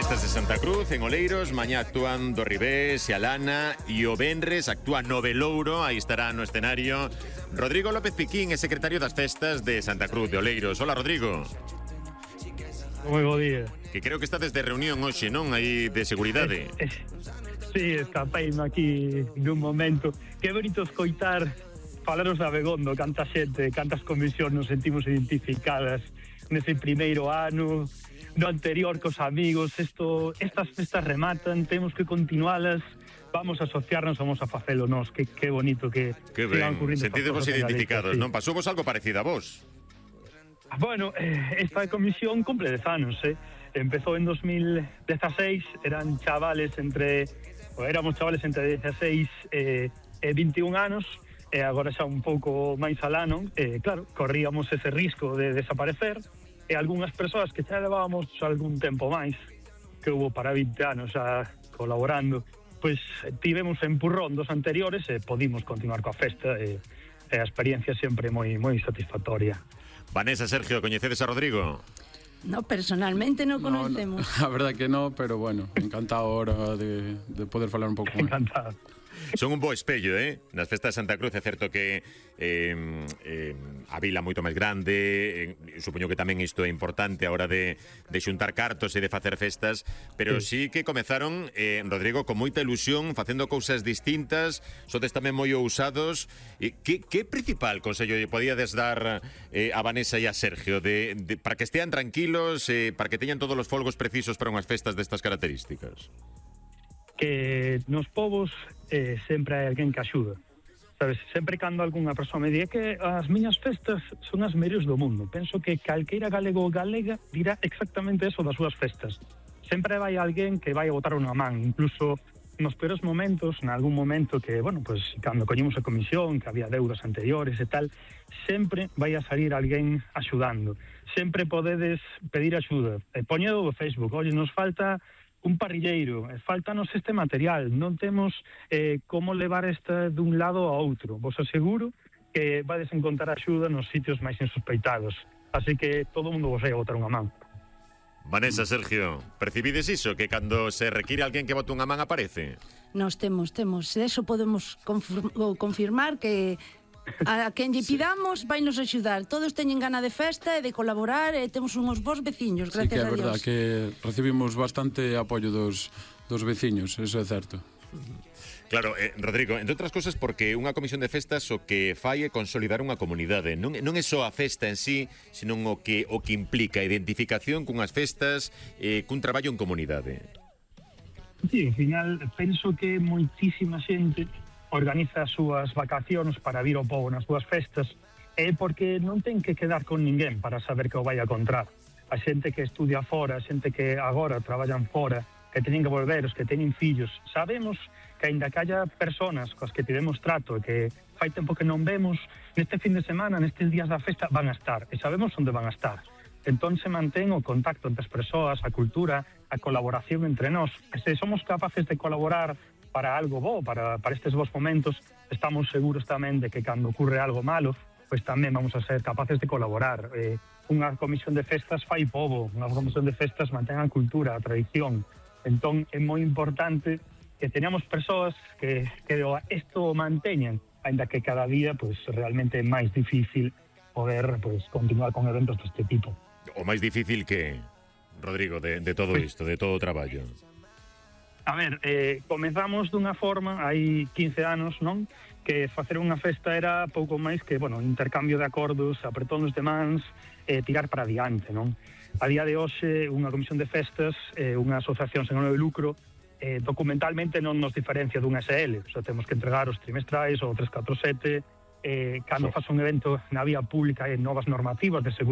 Festas de Santa Cruz, en Oleiros, mañá actúan do Ribés e Alana e o Venres actúa no Velouro, aí estará no escenario Rodrigo López Piquín, é secretario das Festas de Santa Cruz de Oleiros. Hola, Rodrigo. Moi bo día. Que creo que está desde reunión hoxe, non? Aí de seguridade. Sí, escapeime aquí nun momento. Que bonito escoitar falaros da Begondo, canta xente, cantas comisións nos sentimos identificadas nese primeiro ano, no anterior cos amigos. Estas festas rematan, temos que continualas, vamos a asociarnos, vamos a facelo nós. Que bonito que ben, sentidevos identificados, sí. Non? Pasou vos algo parecido a vos? Bueno, esta comisión cumple 10 anos, Empezou en 2016, éramos chavales entre 16 e 21 anos, e agora xa un pouco máis alano, claro, corríamos ese risco de desaparecer, e algunhas persoas que xa levábamos algún tempo máis, que hubo para 20 anos xa colaborando, pois tivemos empurrón dos anteriores e podimos continuar coa festa, e a experiencia sempre moi satisfactoria. Vanessa, Sergio, coñecedes a Rodrigo? No, personalmente non conocemos. No, a verdad que no, pero bueno, encantado ahora de poder falar un pouco máis. Encantado. Son un bo espello, nas festas de Santa Cruz. É certo que a vila moito máis grande, supoño que tamén isto é importante a hora de xuntar cartos e de facer festas, pero sí que comezaron, Rodrigo, con moita ilusión, facendo cousas distintas, sodes tamén moi ousados. Que principal consello lle podíades dar a Vanessa e a Sergio para que estean tranquilos, para que teñan todos os folgos precisos para unhas festas destas características? Que nos povos sempre hai alguén que axuda, sabes? Sempre cando algunha persoa me di que as miñas festas son as mellores do mundo, penso que calqueira galego ou galega dirá exactamente eso das súas festas. Sempre vai alguén que vai a botar unha man, incluso nos peores momentos, en algún momento que, bueno, pues cando coñimos a comisión, que había deudas anteriores e tal, sempre vai a salir alguén axudando. Sempre podedes pedir axuda. Poñedo do Facebook, oye, nos falta un parrilleiro, faltanos este material, non temos como levar esta dun lado a outro. Vos aseguro que vades encontrar axuda nos sitios máis insospeitados. Así que todo o mundo vos vai a botar unha man. Vanessa, Sergio, percibides iso? Que cando se require alguén que bote unha man aparece? Nos temos. Eso podemos confirmar que a quen lle pidamos vai nos axudar. Todos teñen gana de festa e de colaborar e temos uns bons veciños, gracias a Dios. Sí que é verdad que recibimos bastante apoio dos veciños, eso é certo. Claro, Rodrigo, entre outras cosas porque unha comisión de festas o que fai é consolidar unha comunidade. Non é só a festa en sí, senón o que implica a identificación cunhas festas, cun traballo en comunidade. Sí, ao final, penso que moitísima xente organiza as súas vacacións para vir ao pobo nas súas festas, porque non ten que quedar con ninguén para saber que o vai a encontrar. A xente que estudia fora, a xente que agora traballan fora, que teñen que volver, os que teñen fillos, sabemos que aínda que haya personas coas que tivemos trato e que fai tempo que non vemos, neste fin de semana, nestes días da festa, van a estar, e sabemos onde van a estar. Entón se mantén o contacto entre as persoas, a cultura, a colaboración entre nós. E se somos capaces de colaborar para algo bo, para estes bons momentos, estamos seguros tamén de que cando ocurre algo malo, pois tamén vamos a ser capaces de colaborar. Unha comisión de festas fai pobo, unha comisión de festas mantén a cultura, a tradición. Entón é moi importante que teñamos persoas que isto manteñan, ainda que cada día pois realmente é máis difícil poder pois continuar con eventos deste tipo. O máis difícil que, Rodrigo, de todo isto, de todo o traballo? A ver, comezamos dunha forma, hai 15 anos, non? Que facer unha festa era pouco máis que, bueno, intercambio de acordos, apretóns de mans, tirar para adiante, non? A día de hoxe, unha comisión de festas, unha asociación sen ánimo de lucro, documentalmente non nos diferencia dun SL, o sea, temos que entregar os trimestrais, o 347, cando faz un evento na vía pública e novas normativas de seguridade